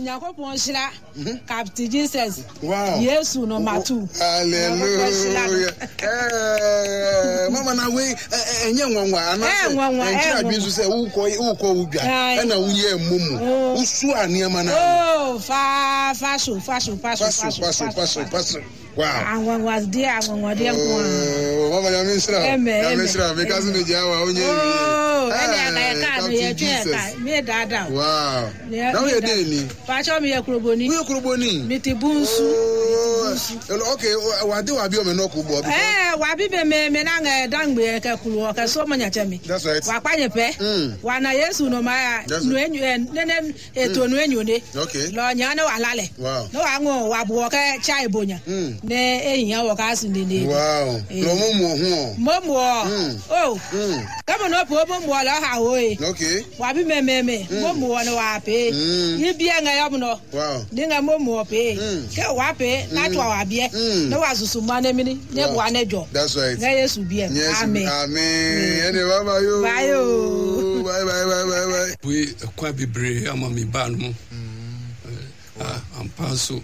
Nyankopɔn nhyira Captain Jesus. Wow. Yesu no matu. Hallelujah. Eh, mama na we enye nwanwa ana eh, nwanwa eh, adwene so sɛ wokɔ wokɔ wo dwa ɛna woyɛ mmomu oh. wosu a nneɛma na oh fa fa so fa so fa so fa so fa so fa so Wow. Anwanwadeɛ anwanwadeɛ nko ara. Oh, mama nyame nhyira wo. Nyame nhyira wo. Meka so megyaa wo a wonyɛ wie. Oh, ɛne anka yɛ kaa no yɛtwe yɛ kaa. Me daadaa wo. Wow. Na woyɛ dɛn ni? Pakyɛ meyɛ kuroboni. Woyɛ kuroboni? Mete Bunsu. Oh, okay, wade wabi ɔmɛ nɔko bɔ. Eh, wabi me me me na ngɛ dangbe kɛ kulu ɔkɛ so manya kyɛ mi. That's right. Wakpa nye pɛ. Mm. Wana Yesu no ma ya. That's right. Nue ne ne eto nu enyo ne. Okay. Lɔ nya ne wa lalɛ. Wow. Ne wa ŋɔ wa bu ɔkɛ tsa ebonya. Mm. Ne ehiã wɔ ka su ne ne. Wow. Eh. Lɔ mo mo ho. Mo mo. Mm. Oh. Mm. Kama no po mo mo lɔ ha wo ye. Okay. Wa bi me me me. Mo mo ne wa pe. Mm. Yi bia ŋa yɔ no. Wow. Ni ŋa mo mo pe. Mm. Ke wa pe na twa wa bie. Mm. Ne wa susu ma ne mini. Ne Wow. bua ne jɔ. That's right. Ne Yesu bie. Yes. Amen. Amen. Ɛne bye bye yo. Bye o. Bye bye bye bye bye. Bue ɛkwan bebree ama me baa no mu. Ampa nso,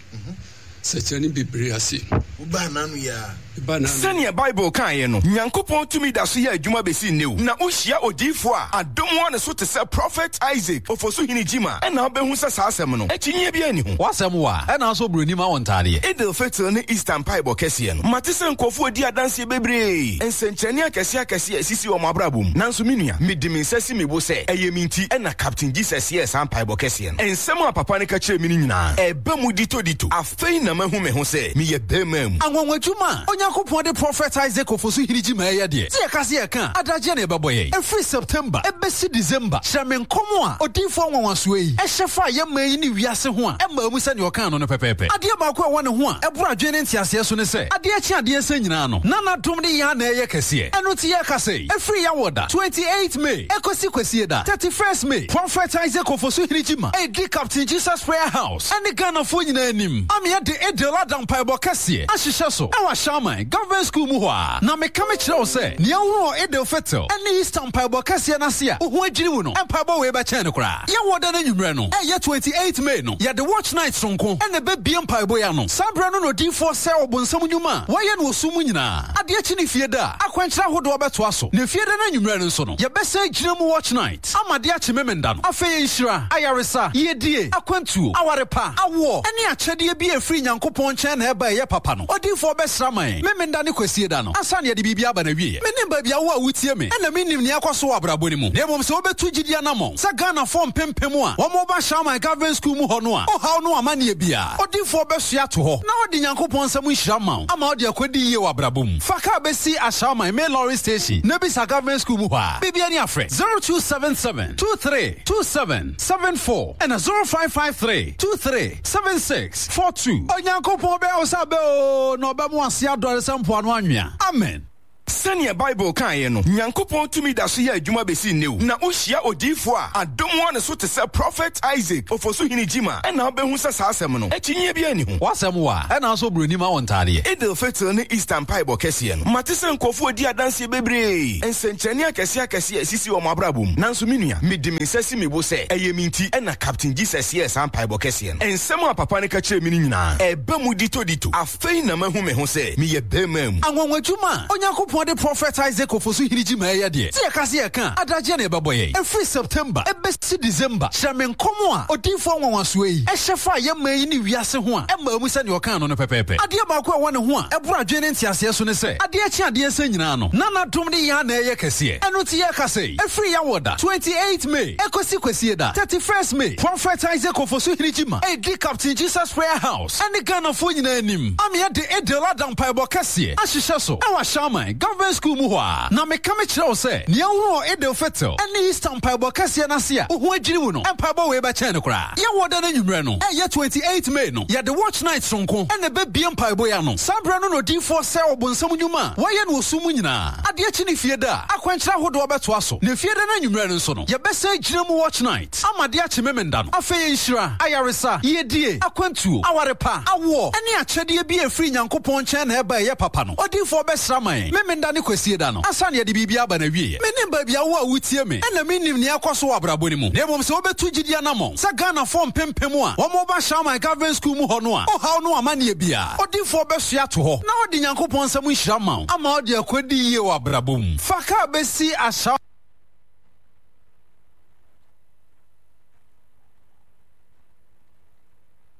sɛkyerɛnne bebree ase. Wobaa n'ano yi ara. Mebaa n'ano. Sɛnea Bible kaeɛ no, Nyankopɔn tumi da so yɛ adwuma bɛsi nnɛ o. Na wohyia odiyifoɔ a adom wɔ ne so te sɛ Prophet Isaac Ofosuhene Gyimah ɛna wobɛhu sɛ saa asɛm no, akyinnyeɛ biara nni ho. W'asɛm wa, ɛna nso broni ma wo ntaadeɛ. Eid al-Fitr ne Easter mpaebɔ kɛseɛ no, mate sɛ nkurɔfoɔ redi adanseɛ bebree, nsɛnkyerɛnne akɛseɛ akɛseɛ a ɛsisi wɔn abrabɔ mu. Nanso me nua, mede me nsa si me bo sɛ, ɛyɛ me nti na Captain Jesus yɛɛ saa mpaebɔ kɛseɛ no. Nsɛm a papa no ka kyerɛɛ me no nyinaa, ɛreba mu ditodito. Afei na mahu me ho sɛ meyɛ barima mu. Anwanwadwuma a Onyankopɔn de Prɔfɛt Isaac Ofosu Hirigyima reyɛ deɛ, sɛ yɛka sɛ yɛreka a, adagyeɛ na ɛbɛbɔ yɛn. Ɛfiri September bɛsi December, kyerɛ me nkɔm a odiyifoɔ nwanwasoɔ yi hyɛ faa yɛn man yi ne wiase ho a ɛmmaa mu sɛdeɛ ɔkaa no no pɛpɛɛpɛ. Adeɛ baako a ɛwɔ ne ho a ɛboro adwene ne nteaseɛ so ne sɛ, adeɛ kye adeɛ sa nyinaa no, na n'adom ne yɛn ara na ɛreyɛ kɛseɛ. Ɛno nti yɛrekasa yi, ɛfiri Yawoda, 28 May, ɛkɔsi Kwasieda, 31st May, Prɔfɛt Isaac Ofosu Hirigyima redi Captain Jesus Prayer House ne Ghanafoɔ nyinaa anim ama yɛde Eid-el Adha mpaebɔ kɛseɛ ahyehyɛ so wɔ Ashaiman Government School mu hɔ ara. Na meka mekyerɛ wo sɛ, nea wohunu wɔ Eid-el-Fitr ne Easter mpaebɔ kɛseɛ no ase a wo ho adwiri wo no, mpaebɔ wei bɛkyɛn no koraa. Yɛwɔ da no anwummerɛ no, ɛyɛ 28 May no, yɛde Watch Night sononko na ɛbɛbue mpaebɔ yi ano. Saa berɛ no na odiyifoɔ sɛe ɔbonsam nnwuma a wayɛ no wɔ sum mu nyinaa. Adeɛ kye ne Fieda a, akwankyerɛ ahodoɔ bɛtoa so. Na Fieda no anwummerɛ no nso no, yɛbɛsan agyina mu Watch Night ama adeɛ akye Memenda no. Afei nhyira, ayaresa, yiedie, akwantuo, aware pa, awoɔ, ne akyɛdeɛ bi a ɛfiri Nyankopɔn nkyɛn na ɛba a ɛyɛ papa no, odiyifoɔ bɛsra ama yɛn Memenda ne Kwasieda no ansa na yɛde biribi aba n'awieɛ. Mennim baabi a wo a wotie me na mennim nea ɛkɔ so wɔ abrabɔ no mu, na mmom sɛ wobɛtu gyidie anammɔn sɛ Ghanafoɔ mpempem a wɔreba Shawmai Government School mu hɔ no a, ohaw no amanneɛ biara, odiyifoɔ bɛsoa ato hɔ na ɔde Nyankopɔn nsam nhyira ma wo ama wode akɔdi yie wɔ abrabɔ mu. Fa kaa bɛsi Ashawman main lorry station na bisa Government School mu hɔ a. Biribi ani afrɛ 0277 23 27 74 ɛna 0553 23 76 42. Onyankopɔn bɛyɛ wo sɛ abɛ oo, na ɔbɛma w'ase adɔre sɛ mpoano anwea. Amen. Sɛnea Bible kaeɛ no, Nyankopɔn tumi da so yɛ adwuma bɛsi nnɛ o. Na wohyia odiyifoɔ a adom wɔ ne so te sɛ Prophet Isaac Ofosuhene Gyimah ɛna wobɛhu sɛ saa asɛm no, akyinnyeɛ biara nni ho. W'asɛm wa, ɛna nso broni ma wo ntaadeɛ. Eid al-Fitr ne Easter mpaebɔ kɛseɛ no, mate sɛ nkurɔfoɔ redi adanseɛ bebree, nsɛnkyerɛnne akɛseɛ akɛseɛ a ɛsisi wɔn abrabɔ mu. Nanso me nua, mede me nsa si me bo sɛ, ɛyɛ me nti na Captain Jesus yɛɛ saa mpaebɔ kɛseɛ no. Nsɛm a papa no ka kyerɛɛ me no nyinaa, ɛreba mu ditodito. Afei na mahu me ho sɛ meyɛ barima mu. Anwanwadwuma a Onyankopɔn de Prɔfɛt Isaac Ofosu Hirigyima reyɛ deɛ, sɛ yɛka sɛ yɛreka a, adagyeɛ na ɛbɛbɔ yɛn. Ɛfiri September bɛsi December, kyerɛ me nkɔm a odiyifoɔ nwanwasoɔ yi hyɛ faa yɛn man yi ne wiase ho a ɛmmaa mu sɛdeɛ ɔkaa no no pɛpɛɛpɛ. Adeɛ baako a ɛwɔ ne ho a ɛboro adwene ne nteaseɛ so ne sɛ, adeɛ kye adeɛ sa nyinaa no, na n'adom ne yɛn ara na ɛreyɛ kɛseɛ. Ɛno nti yɛrekasa yi, ɛfiri Yawoda, 28 May, ɛkɔsi Kwasieda, 31st May, Prɔfɛt Isaac Ofosu Hirigyima redi Captain Jesus Prayer House, ne Ghanafoɔ nyinaa anim ama yɛde Eid-el Adha mpaebɔ kɛseɛ ahyehyɛ so wɔ Ashaiman Government School mu hɔ ara. Na meka mekyerɛ wo sɛ, nea wohunu wɔ Eid-el-Fitr ne Easter mpaebɔ kɛseɛ no ase a wo ho adwiri wo no, mpaebɔ wei bɛkyɛn no koraa. Yɛwɔ da no anwummerɛ no, ɛyɛ 28 May no, yɛde Watch Night sononko na ɛbɛbue mpaebɔ yi ano. Saa berɛ no na odiyifoɔ sɛe ɔbonsam nnwuma a wayɛ no wɔ sum mu nyinaa. Adeɛ kye ne Fieda a, akwankyerɛ ahodoɔ bɛtoa so. Na Fieda no anwummerɛ no nso no, yɛbɛsan agyina mu Watch Night. Ama de akye Memenda no. Afei nhyira, ayaresa, yiedie, akwantuo, aware pa, awoɔ, ne akyɛdeɛ bi a ɛfiri Nyankopɔn nkyɛn na ɛba a ɛyɛ papa no, odiyifoɔ bɛsra ama yɛn. Memenda. Menda ne Kwasieda no, ansa na yɛde biribi aba n'awieɛ. Mennim baabi a wo a wotie me ɛna mennim nea ɛkɔ so wɔ abrabɔ no mu, na mmom sɛ wobɛtu gyidie anammɔn sɛ Ghanafoɔ mpempem a wɔreba Shammai Government School mu hɔ no a, ɔhaw no amanneɛ biara, odiyifoɔ bɛsoɛ ato hɔ na ɔde Nyankopɔn nsam nhyira ma wo ama wode akɔdi yie wɔ abrabɔ mu. Fa kaa bɛsi Ashaw.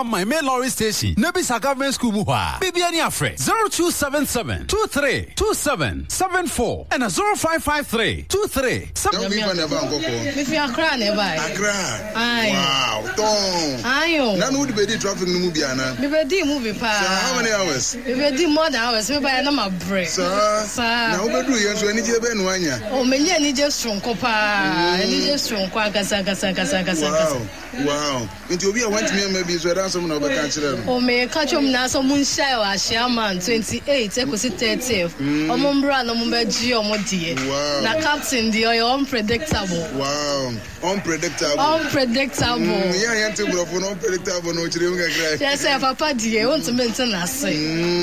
My main lorry station na bisa government school mu hɔ a biribi ani afrɛ 0277 23 27 74 ɛna 0553 23 7. Na wofi na ɛba nkɔkɔɔ? Mefi Accra na ɛbaeɛ. Accra? Wow, tɔn. Ayo. Na no wode bɛdi traffic no mu bi anaa? Mebɛdi mu bi paa. Saa, how many hours? Mebɛdi more than hours, mebaeɛ na mabrɛ. Saa. Saa. Na wobɛduru yɛn nso anigyeɛ bɛn na woanya? Oh, menya anigye soronko paa. Anigye soronko ankasa ankasa ankasa ankasa. Wow. Wow! Nti obi a wantumi amma bi nso, ɛda asɛm na wobɛka akyerɛ no? Oh, meka kyerɛ wɔn nyinaa sɛ wɔn nhyia wɔ Ahyiaman 28 ekosi 30th. Wɔn mbra na wɔn bɛgye wɔn deɛ. Wow! Na captain deɛ ɔyɛ unpredictable. Wow! Unpredictable. Unpredictable. Yɛn a yɛnte borɔfo no, unpredictable no, kyerɛ mu kakra. Kyerɛ sɛ papa deɛ, wontumi nte n'ase.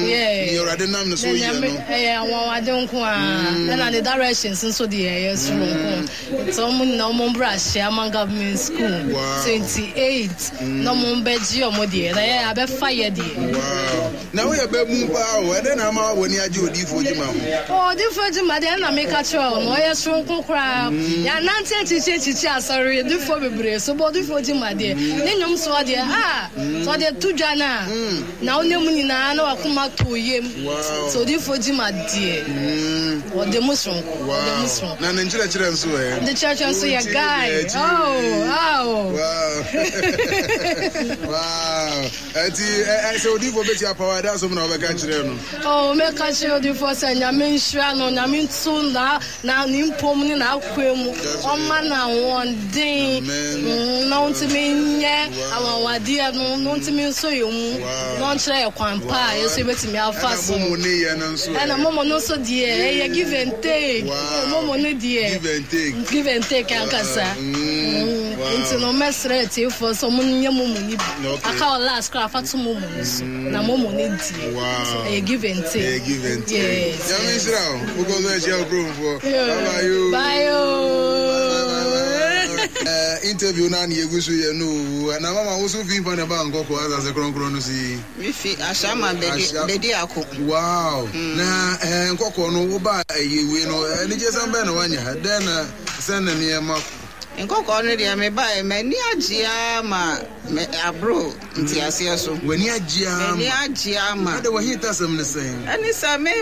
Yeah. Nea Awurade nam ne so yɛ no. Ɛyɛ anwanwade nko ara. Ɛna ne directions nso deɛ ɛyɛ soronko. Nti ɔmo nyinaa ɔmo mbra Hyiaman Government School 28 na ɔmo mbɛgye ɔmo deɛ na yɛ abɛfa yɛ deɛ. Wow. Na woyɛ bɛbun paa o, ɛdɛn na ama w'ani agye Odiyifoɔ Gyima ho? Oh, Odiyifoɔ Gyima deɛ ɛna meka kyerɛ wo no, ɔyɛ soronko koraa. Yɛanante akyikyi akyikyi asɔre adiyifoɔ bebree so, but Odiyifoɔ Gyima deɛ, ne nnwom soɔ deɛ, ah, sɛ ɔde to dwa no a, Na wo nna mu nyinaa na w'akoma tɔ wo yam. Sɛ odiyifoɔ Gyima deɛ, ɔda mu soronko. Ɔda mu soronko. Na ne nkyerɛkyerɛ nso ɛ? Ne nkyerɛkyerɛ nso yɛ guy. Oh, oh. Wow. Wow. Ɛti sɛ odiyifoɔ bɛti apaw a, ɛda asɛm na wobɛka kyerɛ no? Oh, mɛka kyerɛ odiyifoɔ sɛ Nyame nhyira no, Nyame nto na na ne mpom ne n'akoa mu, ɔmma no ahoɔden na ɔntumi nyɛ anwanwadeɛ no, na ɔntumi nsɔ yɛn mu, na ɔnkyerɛ yɛ kwan pa a yɛn nso yɛbɛtumi afa so. Ɛna momo no nso deɛ ɛyɛ give and take. Momo no deɛ give and take ankasa. Nti no mɛsrɛ atiefoɔ sɛ ɔmo nyɛ momo no bi. Aka wɔ last koraa fa to momo no so. Na momo no deɛ ɛyɛ give and take. Ɛyɛ give and take. Nyame nhyira wo. Wokɔ so ahyia wo kuromfoɔ. Bye bye yo. Bye o. Interview no a na yɛgu so yɛ no o. Na mama wo so fi mfa na ɛbaa nkɔkɔ asase kronkron no so yi? Mefi Ashaiman Bediako. Wow. Na nkɔkɔ no woba ɛyɛ wei no anigyesɛm bɛn na woanya? Dɛn na sɛn na nneɛma kɔ? Nkɔkɔɔ no deɛ mebaeɛ m'ani agye ara ma me aboro nteaseɛ so. W'ani agye ara ma. M'ani agye ara ma. Ɛde w'ahintasɛm ne sɛn? Ɛne sɛ me.